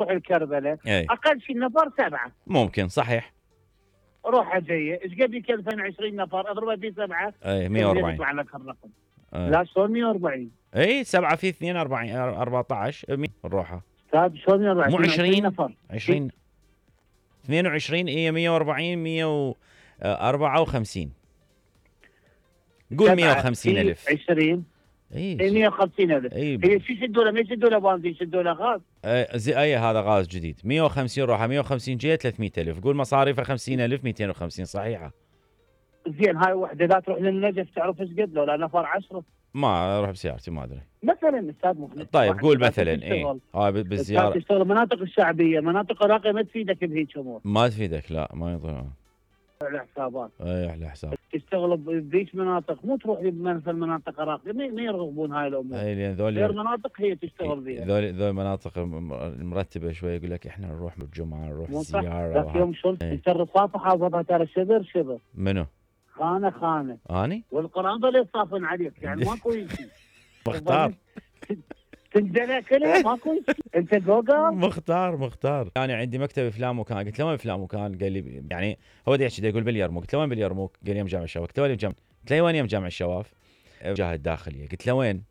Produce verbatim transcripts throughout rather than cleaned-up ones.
روح الكربله اي اقل شيء نفر سبعه ممكن صحيح. روحه جايه ايش قد يكلفن عشرين نفر اضربها في سبعه اي مية وأربعين يطلع لك الرقم. اي لا شلون مية وأربعين؟ اي سبعة في اثنين أربعين أربعة عشر مية نروحها. استاذ شلون مية وأربعين؟ مو عشرين نفر عشرين اثنين وعشرين هي مية وأربعين مية وأربعة وخمسين قول مية وخمسين ألف. عشرين اي مية وخمسين ألف. اي هي شو يشدوا له؟ ما يشدوا له بنزين يشدوا له غاز. اي زي اي هذا غاز جديد مية وخمسين روحه مية وخمسين جايه ثلاثمية ألف قول مصاريفه خمسين ألف مئتين وخمسين صحيحه. زين هاي وحده لا تروح للنجف تعرف ايش قد لو لا نفر عشرة. ما اروح بسيارتي ما ادري. مثلا استاذ مخلص. طيب قول مثلا اي اه بالزياره تشتغل المناطق الشعبيه، مناطق الراقيه ما تفيدك بهيك امور. ما تفيدك لا ما يضر. على حسابات. اي على حساب. تشتغل بذيك مناطق مو تروح مثل مناطق راقيه ما يرغبون هاي الامور. اي لان ذول غير مناطق هي تشتغل بها. ذول ذول مناطق المرتبه شوي يقول لك احنا نروح بالجمعه نروح زياره. ذاك يوم شلون انت الرصافه حافظها ترى شبر شبر. منو؟ خانه خانه. اني؟ والقران ظل يصافن عليك يعني ماكو شيء. مختار. تنجلى كلها ماكو شيء. انت جوجل؟ مختار مختار. انا يعني عندي مكتب فلان مكان قلت له وين فلان مكان؟ قال لي يعني هو دا يحكي يقول باليرموك. قلت له وين باليرموك؟ قال لي يم جامع الشواف. قلت له وين جامع؟ قلت له وين يم جامع الشواف؟ جهه الداخليه. قلت له وين؟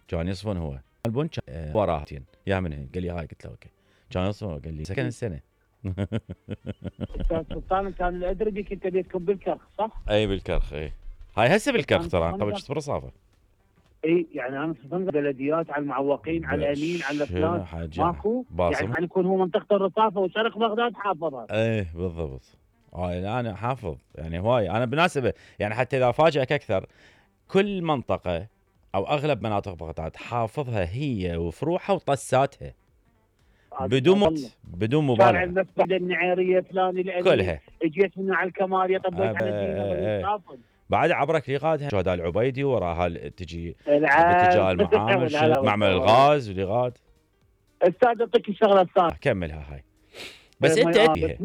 كان يصفن هو البن أه وراه يا من هنا. قال لي هاي. قلت له اوكي. كان يصفن قال لي سكن السنه. استاذ سلطان كان الادري بك انت بيتكم بالكرخ صح؟ اي بالكرخ اي. هاي هسه بالكرخ ترى قبل كنت برصافه. اي يعني انا صفن بلديات على المعوقين على الامين على فلان ماكو يعني يكون هو منطقه الرصافه وشرق بغداد حافظها. ايه بالضبط. هاي انا حافظ يعني هواي. انا بالمناسبه يعني حتى اذا افاجئك اكثر كل منطقه او اغلب مناطق بغداد حافظها هي وفروعها وطساتها بدون مت بدون مبالغه. شارع المسبح النعيريه فلان الامين كلها اجيت هنا على الكماليه طبيت على الدين بعد عبرك ريغادها شهداء العبيدي وراها تجي باتجاه المعامل معمل الغاز ولغاد. استاذ اعطيك الشغله الثانيه كملها هاي بس انت اديها.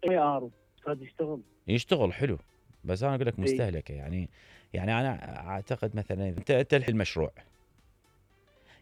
اي ارو استاذ يشتغل يشتغل حلو بس انا اقول لك مستهلكه يعني. يعني انا اعتقد مثلا انت انت المشروع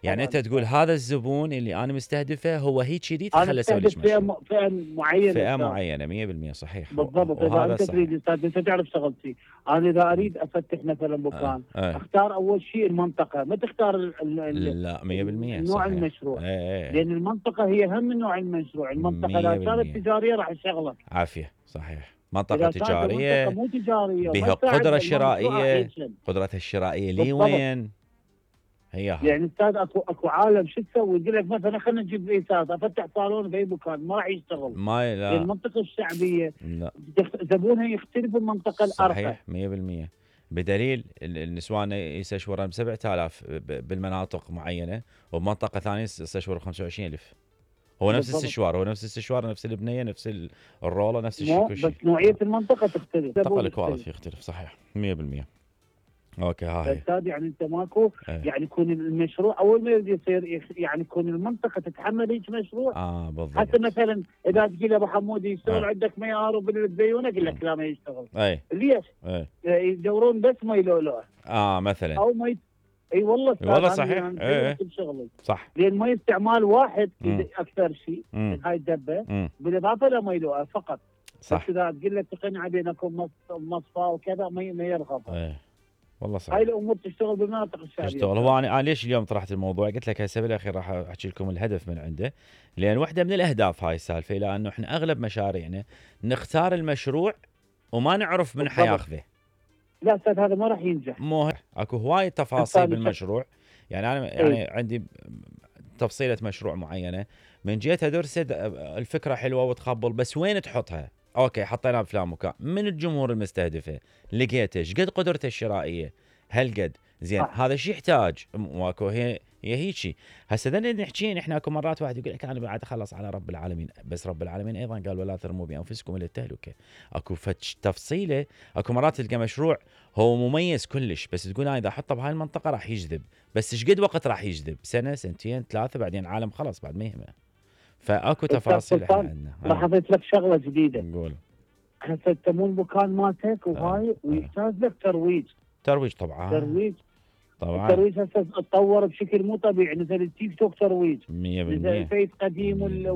يعني انت تقول هذا الزبون اللي انا مستهدفه هو هيك كذي خليه اسوي لك مشروع. فئه معينه فئه معينه مية بالمية صحيح بالضبط. اذا انت تريد استاذ انت تعرف شغلتي انا اذا اريد افتح مثلا مكان آه. آه. اختار اول شيء المنطقه ما تختار ال لا مية بالمية نوع صحيح. المشروع آه. آه. لان المنطقه هي اهم من نوع المشروع. المنطقه اذا كانت تجاريه راح تشغلك عافيه صحيح. منطقه تجاريه مو تجاريه بها قدره شرائيه قدرتها الشرائيه لي وين هي يعني استاذ اكو اكو عالم شو تسوي يقول لك مثلا خلينا نجيب رئيسات افتح صالون باي مكان ما راح يشتغل. ما لا المنطقه الشعبيه لا زبونها يختلف المنطقه الارقى. صحيح مية بالمية. بدليل النسوان يستشورن ب سبعة آلاف بالمناطق معينه وبمنطقه ثانيه يستشورن ب خمسة وعشرين ألف. هو نفس الاستشوار هو نفس الاستشوار نفس البنيه نفس الروله نفس الشيء كل شيء. بس نوعيه المنطقه تختلف. المنطقه الكواليتي يختلف صحيح مية بالمية. اوكي هاي استاذ يعني انت ماكو ايه. يعني يكون المشروع اول ما يبدا يصير يعني يكون المنطقه تتحمل هيك مشروع. اه بالضبط. حتى مثلا اذا تجي له ابو حمود يشتغل اه. عندك ميار وبالزيونه يقول لك لا ما يشتغل. اي ليش؟ اي يدورون بس ما يلولوه. اه مثلا او ما ي... اي والله والله صحيح يعني اي صح. لان ما استعمال واحد اكثر شيء من هاي الدبه بالاضافه لما يلوها فقط. صح. بس اذا تقول له تقنع بينكم مصفى وكذا ما ما يرغب. ايه والله صحيح. هاي الامور تشتغل بالمناطق الشعبيه. تشتغل. هو انا ليش اليوم طرحت الموضوع قلت لك هسه بالاخير راح احكي لكم الهدف من عنده لان واحده من الاهداف هاي السالفه لانه احنا اغلب مشاريعنا نختار المشروع وما نعرف من حياخذه. لا استاذ هذا ما راح ينجح. مو اكو هواي تفاصيل بالمشروع يعني انا يعني ايه؟ عندي تفصيله مشروع معينه من جهتها درست الفكره حلوه وتقبل بس وين تحطها. اوكي حطيناها بفلان مكان من الجمهور المستهدفه لقيته ايش قد قدرته الشرائيه هل قد زين آه. هذا الشيء يحتاج واكو هي هي هيك هسه بدنا نحكي احنا اكو مرات واحد يقول لك انا بعد اخلص على رب العالمين بس رب العالمين ايضا قال ولا ترموا بانفسكم الى التهلكه. اكو فتش تفصيله اكو مرات تلقى مشروع هو مميز كلش بس تقول انا اذا احطه بهاي المنطقه راح يجذب بس ايش قد وقت راح يجذب سنه سنتين ثلاثه بعدين عالم خلاص بعد ما يهمه. فاكو تفاصيل احنا عندنا. راح اضيف لك شغله جديده. نقول هسه تمون المكان مالتك وهاي آه. ويحتاج لك ترويج. ترويج طبعا. ترويج طبعا. الترويج هسه تطور بشكل مو طبيعي نزل التيك توك ترويج. مية بالمية. نزل الفيس قديم وال